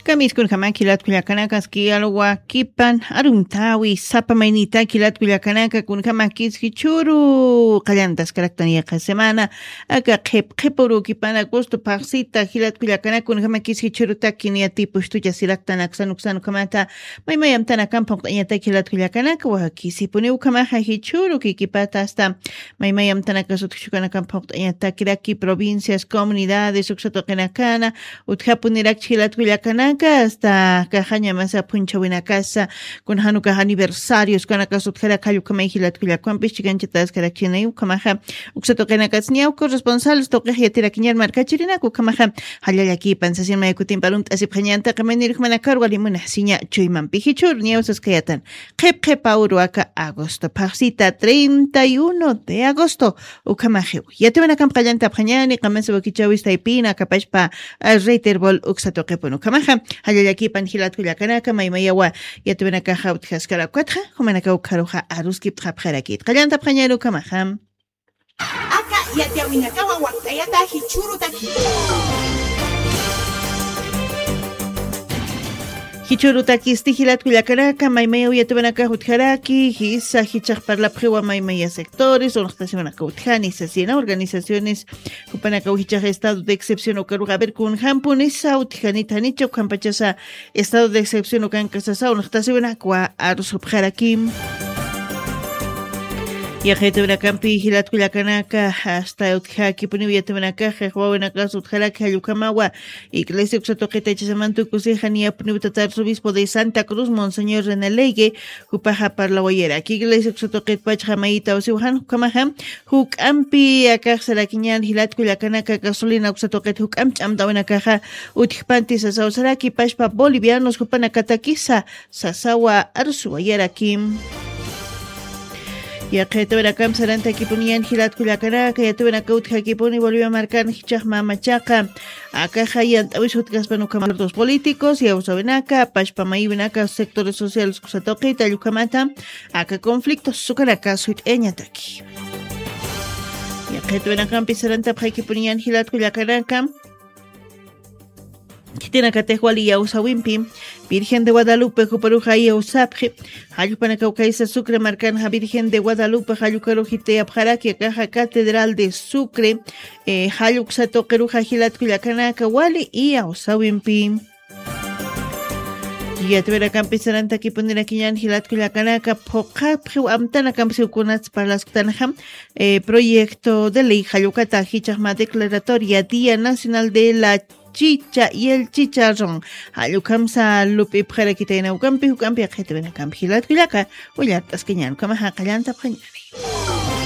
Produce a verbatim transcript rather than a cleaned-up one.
Kamiskunjamaki jilat kullakanakas kiyalwakipan arumtawi sapa maynita jilat kullakanaka kunjamakis jichhuru qallantaskaraktan yaqa semana aka qhip qhip urukipana gusto phaxsita jilat kullakanaka kunjamakis jichhurutaki niyatipustuchasiraktan aksan uksan ukhamata maymay amtanakampa uqt'añataki jilat kullakanaka wakisipuni ukhamaxa jichhuru kikipata asta maymay amtanakas utjchukanakampa uqt'añatakiraki provincias comunidades uksa tuqinakana utjapunirakchi jilat kullakanaka asta kaxañamasa phunchhawinakasa kuna janukax aniversarios kanakas utjarak jallukhamay jilat kullakuwampis chikanchataskarakchinay ukhamaxa uksa tuqinakas ñawka responsables tuqix yatirakiñar markachirinak ukhamaxa jallallakipan sasin maykutimparun t'asipxañantaqa maynirukmanakar walimunaj siña chuymampi jichhur ñawsaskayatan qhip qhipa uru aka agosto phaxsita treinta y uno de agosto ukhamaxiw yatiwanakamp qallantapxañani qamasa wakichawis taypina akapashpa reiterbol uksa tuqipun ukhamaxa jallallakipan jilat kullakanaka maymayawa yatiwanakaxa utjaskara ukatxa jumanaka ukharuxa aruskiptxapxarakit qallantapxañani ukhamaxa aka yatiwinakawa wakt'ayata jichhurutaki jichhurutakisti jilat kullakanaka maymayaw yatiwanakax utjaraki jisa jichax parlapxiwa maymaya sectores unxtasiwanaka utjani sasina organizaciones jupanakaw jichax estado de excepción ukarux a ver kunjampunisa utjanita janicha ukhampachasa estado de excepción ukankasasa unxtasiwanakwa arusupxarakim yaqitawinakampi jilat kullakanaka asta utjakipuniw yatiwanakaxa wawinakas utjaraki jallukamawa iglesia uksa tuqita ichasamantukusixa niyapuniw tata arzobispo de santa cruz monseñor renelegue jupaxa parlawayaraki iglesia uksa tuqitpachxa mayita usiwxan jukamaxa juk'ampi akaxsarakiñan jilat kullakanaka gasolina uksa tuqit juk'amp ch'amtawinakaxa utjpanti sasawsaraki pashpa bolivianos jupanakatakisa sasawa arsuwayarakim yaqitawinakamp sarantakipuniñan jilat kullakanaka yatiwanaka utjakipuni bolivia markan jichax mamachaqa akaxa yant'awis utjaspan ukhamax políticos yawsawinaka pashpa mayiwinaka sectores sociales kusatuqita llukhamata aka conflictos ukanaka suyt'ayañataki yaqitawinakampi sarantapxaykipuniñan jilat kullakanaka khitinakatix wali yawsawimpi virgen de guadalupe juparuxa yawsapxi jallpanakaw kaysa sucre markanxa virgen de guadalupe jallukarux jitayapxaraki akaxa catedral de sucre jalluksa tuqiruxa jilat kullakanaka wali iyawsawimpi yatiwirakampi sarantakipunirakiñan jilat kullakanaka phuqhapxiw amtanakampi siwkunats parlasktanxa proyecto de ley jallukata jichaxma declaratoria día nacional de la chicha y el chicharrón jallukhamsa lup'ipxarakitayna ukampi juk'ampi aqhitiwinakampi jilat kullaka willart'askañan ukhamaxa qallantapxañani